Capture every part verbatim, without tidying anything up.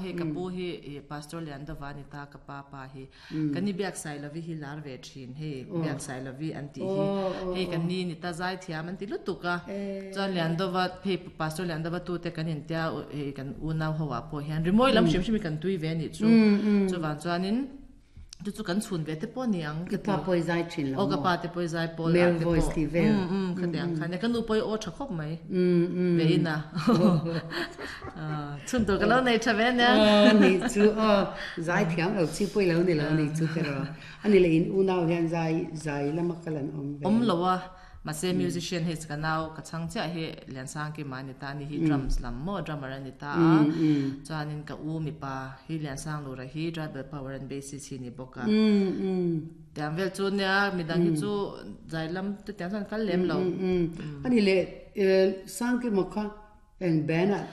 Hei ka pu hi i Pastor Liandova ni ta, ka pa pa hi kan ni biak sai lovi hi lar ve thin, hei biak sai lovi an ti hi, hei kan ni ni ta zai thiam an ti lutuk a. Chuan Liandova hei Pastor Liandova tu te kan in tia, hei kan unau ho ah pawh hian rimawi lam hrim hrim hi kan tui ve anih chu. Chuvan chuanin chu chu kan chhun ve te pawh ni ang. Ka pa pawh i zai thin lo maw? Aw, ka pa te pawh i zai pawl ah te pawh. Um um khatiang khan ka nu pawh i aw tha khawp mai ve in a. Chhun tur ka lo nei tha ve ania. Aw ni chu aw, zai thiam lo chi pawh i lo ni lo ni chu te rawh. Ani leh in unau hian zai zai lama kal an awm ve. Awm lo a, mahse musician hei ka nau ka chhang chiah hi Liansangkima a ni ta, ani hi drums lam maw drummer a ni ta a, chuanin ka u mipa hi Liansanglura hi tribal power and bassist hi ni bawk a. Tiang vel chu nia, midang hi chu zai lam te tiang chuan kal lem lo. Ani leh Sangkima kha eng band ah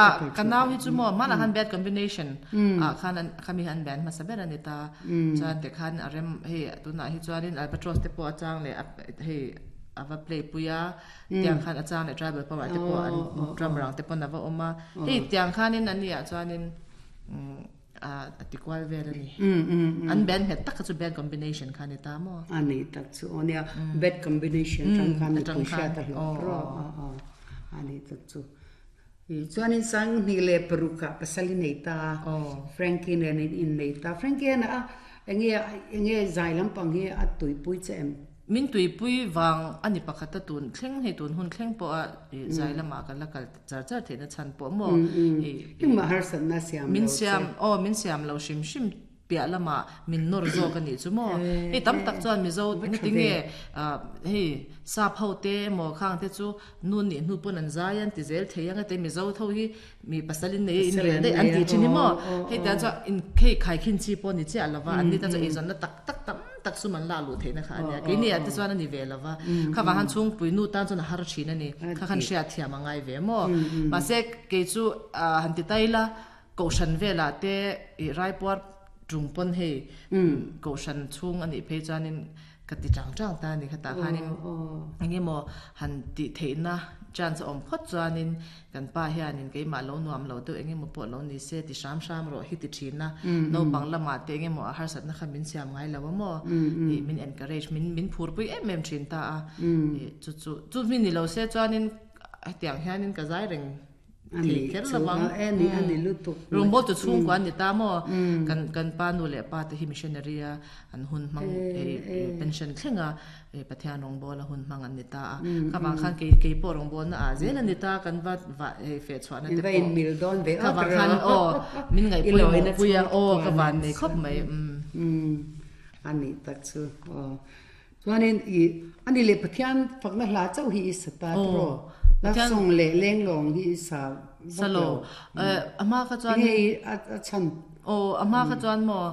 Ah, ka nau hi chu maw hmanah khan bad combination ah khan an khami an band hmasa ber a ni ta. Chuan tikhan a rem hei tunah hi chuanin Albatross te pawh a chang leh a hei a va play pui a, tiang khan a chang leh Tribal Power te pawh an drummer ang te pawn a va awm a. Hei tiang khanin an nih ah chuanin a ti kual vel a ni. An band nghet tak kha chu bad combination kha a ni ta maw? A ni tak chu aw nia, bad combination atang khan mipui hriat a hlawh rawh a ni tak chu. Chuanin Sanghnih leh paruk ah pasal i nei ta a, Frankie nen in innei ta. Frankie hian a enge enge zai lampang hi a tuipui che em? Min tuipui vang a ni pakhat a tun thleng hei tun hun thleng pawh a zai lamah ka la kal char char theihna chhan pawh maw. Engmah harsatna siam lo che. Min siam aw min siam lo hrim hrim piah lamah min nawr zawk a nih chu maw. Hei tam tak chuan Mizo engati nge hei sap ho te emaw khang te chu nu nih hnu pawn an zai an ti zel thei ang ete Mizo tho hi mi pasal in nei a in rel daih an ti thin hi maw. Hei tiang chuan in hei khaikhin chi pawh ni chiah lova an ni tan chuan eizawnna tak tak tam tak sum an lak luh theihna kha a nia. Keini ah te chuan a ni ve lova kha vang khan chhungpui nu tan chuan a har thin a ni. Kha khan hriatthiam a ngai ve maw. Mahse kei chu han ti ta ila Kohhran velah te i raipuar tung pawn hei kohhran chhung a nih phei chuanin ka ti chang chang ta a ni. Khatah khanin eng emaw han tih theihna chance a awm phawt chuanin kan pa hianin keimah lo nuam lo deuh eng emaw pawh lo ni se ti hram hram rawh hi ti thin a. Naupang lamah te eng emaw a harsatna kha min siam ngai lo a maw tih min encourage min min phurpui em em thin ta a. Chu chu chu mi ni lo se chuanin hetiang hianin ka zai reng Thei kher lo ang. Rawngbawltu chhungkua an ni ta maw? Kan kan pa nu leh pa te hi missionary a an hun hmang pension thleng a Pathian rawngbawla hun hmang an ni ta a. Kha vang khan kei kei pawh rawngbawlna ah zel a ni ta kan va va hei feh chhuahna te pawh. Kha vang khan aw min ngaihpawimawh pui a aw ka van nei khawp mai. A nih tak chu aw. Chuanin i ani leh Pathian fakna hla chauh hi i sa ta tawh. Love song leh lenglawng hi i sa vak lo. A hma kha chuan Enge i a chhan? Aw, a hma kha chuan maw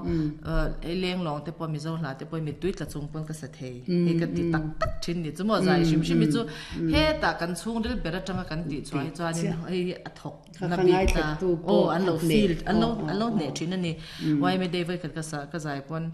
lenglawng te pawh Mizo hla te pawh mittui tla chung pawn ka sa thei. Hei ka ti tak tak thin ni chu maw zai hrim hrim hi chu hetah kan chhungril ber atanga kan tih chhuah hi chuanin hei hi a thawk na bik ta. Aw, an lo feel an lo an lo hneh thin a ni. Yma Day vawikhat ka sa ka zai pawn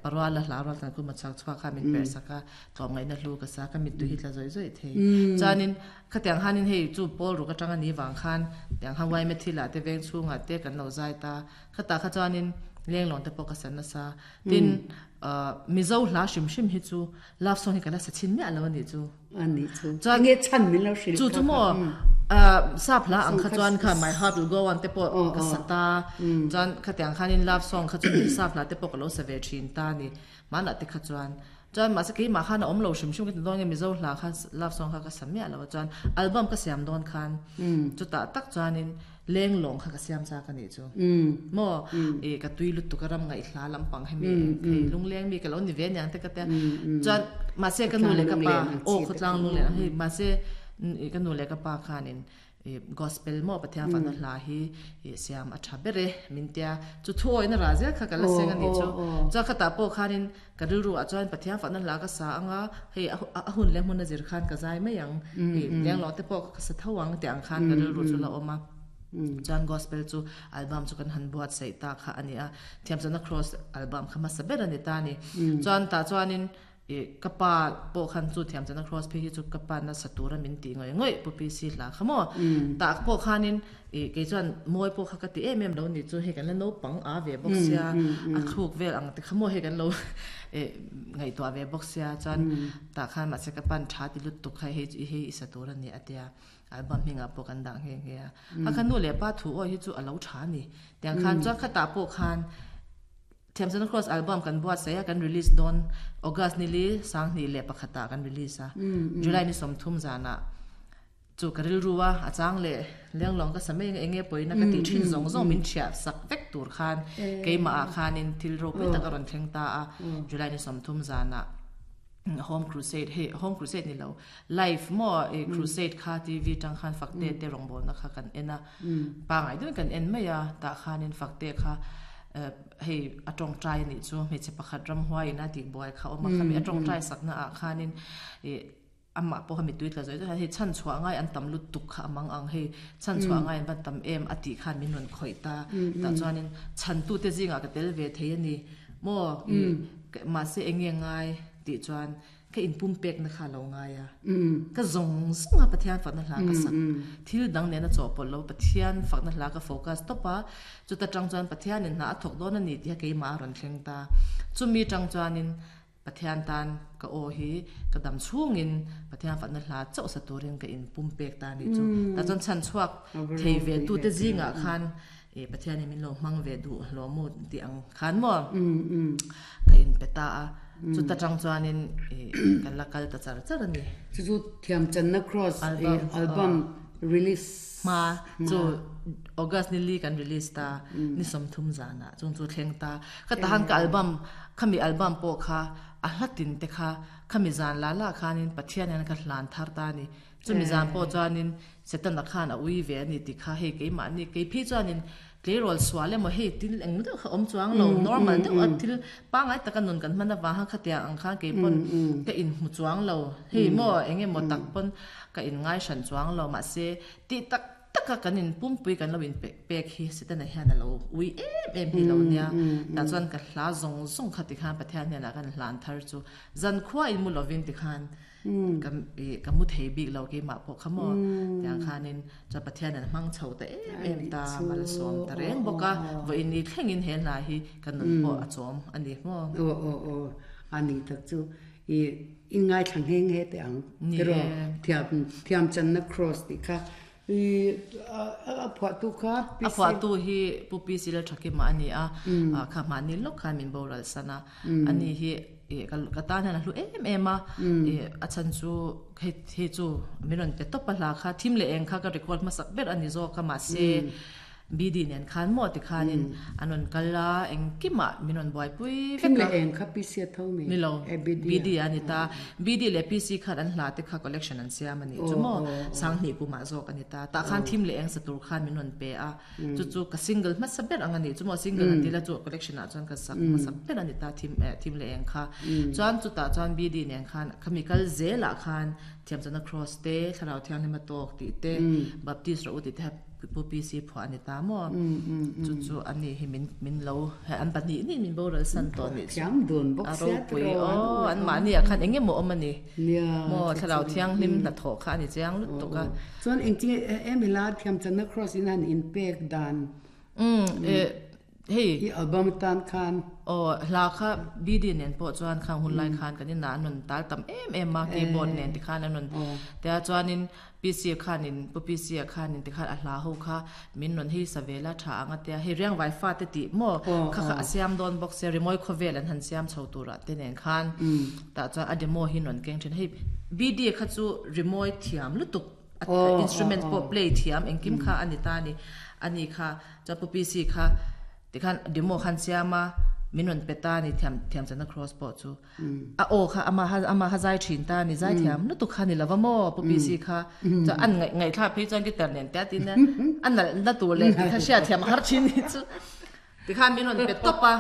Paruala hla rual tan kuma chak chhuak kha min perh sak a, tlawmngaihna hlu ka sa, ka mittui hi tla zawih zawih thei. Chuanin khatiang khanin hei chu pawl ruk atang a ni vang khan tiang khan Yma thilah te veng chhungah te kan lo zai ta. Khatah kha chuanin lenglawng te pawh ka sa nasa. Tin, Mizo hla hrim hrim hi chu love song hi ka la sa chhin miah lo a nih chu. A nih chu. Chuan nge chhan min lo hrilh Chu chu maw sap hla ang kha chuan kha My Heart Will Go On te pawh ka sa ta. Chuan khatiang khanin love song kha chu sap hla te pawh ka lo sa ve thin ta a ni. Hmanah te kha chuan. Chuan mahse keimah khan a awm lo hrim hrim ka ti dawn nge Mizo hla kha love song kha ka sa miah lo a. Chuan album ka siam dawn khan chutah tak chuanin Lenglawng kha ka siam chak a nih chu. Maw? I ka tui lutuk a ram ngaihhla lampang hemi hei lungleng mi ka lo ni ve aniang te ka tia. Chuan mahse ka nu leh ka pa aw khawtlang lunglen ang hei mahse i ka nu leh ka pa khanin i gospel maw Pathian fahna hla hi i siam a tha ber e min tia. Chu thu awihna rah zel kha ka la seng a nih chu. Chuan khatah pawh khanin ka rilru ah chuan Pathian fahna hla ka sa anga hei a hun leh hmun a zir khan ka zai mai ang i lenglawng te pawh ka sa tho ang tih ang khan ka rilru chu la awm a. Chuan gospel chu album chu kan han buatsaih ta kha a ni a, Thiamsana Cross album kha hmasa ber a ni ta a ni. Chuan tah chuanin E kapa po khan chu thiam chana cross phe hi chu kapa na satura min ti ngoi ngoi pu P C hla khamo ta po khanin e ke chuan moi po kha ka ti em em lo ni chu he kan la no pang a ve box ya a thuk vel ang te khamo he kan lo e ngai to ve box ya chuan ta khan ma se ka pan tha ti lut tuk khai he he satura ni atia album hinga po kan dang he he a khan nu le pa thu o hi chu alo tha ni tiang khan chuan kha ta po khan Thiam Chana Cross album kan buat saya kan release don August nili sang ni le pakhata kan release a July ni somthum zana chu karil ruwa achang le lenglong ka samei enge poina ka ti thin zong zong min thia sak vek tur khan keima a khanin thil ro pe tak ron thleng ta a July ni somthum zana home crusade he home crusade ni lo live mo e crusade kha T V tang khan fakte te rongbol na kha kan ena pa ngai dun kan en maya ta khanin fakte kha hei atong trai ni chu me che pakhat ram huai na ti boy kha oma kha mi atong trai sakna a khanin e amma po mi tuit la zoi hei chan chua ngai an tam lut tuk kha amang ang hei chan chua ngai an tam em ati khan min non khoi ta ta chuanin chan tu te zinga ka tel ve thei ani mo ma se enge ngai ti chuan ka in pum pek na kha lo ngai a ka zong zong a Pathian fak na hla ka sak thil dang ne na chawpol lo Pathian fak na hla ka focus topa chu ta tang chuan Pathian in na athok don ani ti ke ma ron thleng ta chumi tang chuan in Pathian tan ka o hi ka dam chung in Pathian fak na hla chaw sa turin ka in pum pek ta ni chu ta chon chan chuak thei ve tu te zinga khan e Pathian min lo mang ve du lo mu ti ang khan mo ka in peta a chu ta tang chuan in kan la kal ta char char ani chu chu Thiam Chana Cross album release ma chu August ni li kan release ta ni somthum zana chung chu thleng ta ka ta han ka album khami album po kha a hlatin te kha khami zan la la khanin Pathian an ka hlan thar ta ni chu mi zan po chuanin setan khan a ui ve ani ti kha he ke ma ni ke phi chuanin tlerol swale mo he til eng deuh kha om chuang lo normal deuh a thil pangai taka nun kan mana wa ha khatia ang kha ke pon ka in mu chuang lo hei mo enge mo tak pon ka in ngai shan chuang lo ma se ti tak taka kan in pumpui kan lo in pe pek hi setan a hian lo ui em em hi lo nia ta chuan ka hla zong zong kha ti khan Pathian hian kan hlan thar chu zan khwa in mu lovin ti khan ka ka mu thei bik lo ke ma po khamo tiang khanin cha Pathian an mang chho ta em em ta mal som ta reng boka vo in ni thleng in he la hi kan nun po a chom ani mo o o o ani tak chu i in ngai thlang heng he te ang pero thiam Thiam Chana Cross ti kha i a phwa tu kha a phwa tu hi pu P C la thaki ma ani a kha ma ni lok kha min boral sana ani hi e ka ta na lu em em a e a chan chu he he chu miron te top la kha thim le eng kha ka record ma sak ber ani zo ka ma se B D nen khan mo ti khanin anon kala eng kima minon boy pui thim le eng kha P C tho mi ni lo B D ani ta B D le P C khan an hla te kha collection an siam ani chu mo sang ni ku ma zo ani ta ta khan thim le eng satur khan minon pe a chu chu ka single ma saber ang ani chu mo single an tila chu collection a chuan ka sak ma sak ber ani ta thim thim le eng kha chuan chu ta chuan B D nen khan chemical zela khan Thiam Chana Cross te thlarau thiang ni ma tok ti te Baptist ro ti te pu P C pho ani ta mo chu chu ani hi min min lo an pahnih ni min boral san to ni thiam dun bok sia pui o an ma ni a khan enge mo om ani mo thlarau thiang hlim na tho kha ani chiang lut to ka chuan eng chi em hila Thiam Chana Cross in han in pek dan um e hei i album tan khan o hla kha B D nen po chuan khang hun lai khan kan in na nun tal tam em em ma keyboard nen ti khan anun te chuanin P C khanin pu P C khanin ti khan a hla ho kha min non hi savela tha anga te he riang vai fa te ti mo kha kha asiam don box se rimoi khovel an han siam chho tura te nen khan ta chuan a demo hi non keng then hei B D kha chu rimoi thiam lutuk instrument po play thiam engkim kha ani ta ni ani kha cha pu P C kha ti khan demo khan siama minon peta ni thiam thiam chana cross po chu a o kha ama ha ama ha zai thin ta ni zai thiam nu tu kha ni lawamo pu P C kha cha an ngai ngai tha phei chuan ki tar nen ta tin na an na na tu le ti kha sia thiam har thin ni chu ti khan minon pe topa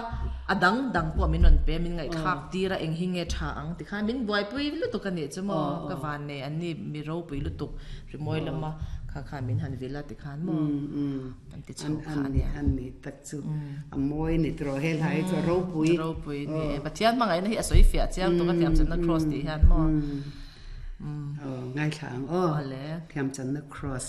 adang dang po minon pe min ngai thak tira eng hinge tha ang ti khan min buai pui lu tu ka ni chu mo ka van ne an ni mi ro pui lu tuk ri moi lama Kha kha min han vila ti khan maw an ti chho kha an ni an ni tak chu a mawi ni tro hel hai chu ropui ropui ni Pathian hmangaihna hi a sawi fiah chiang tuk a thiam channa cross tih hian maw ngai thlang aw le thiam channa cross.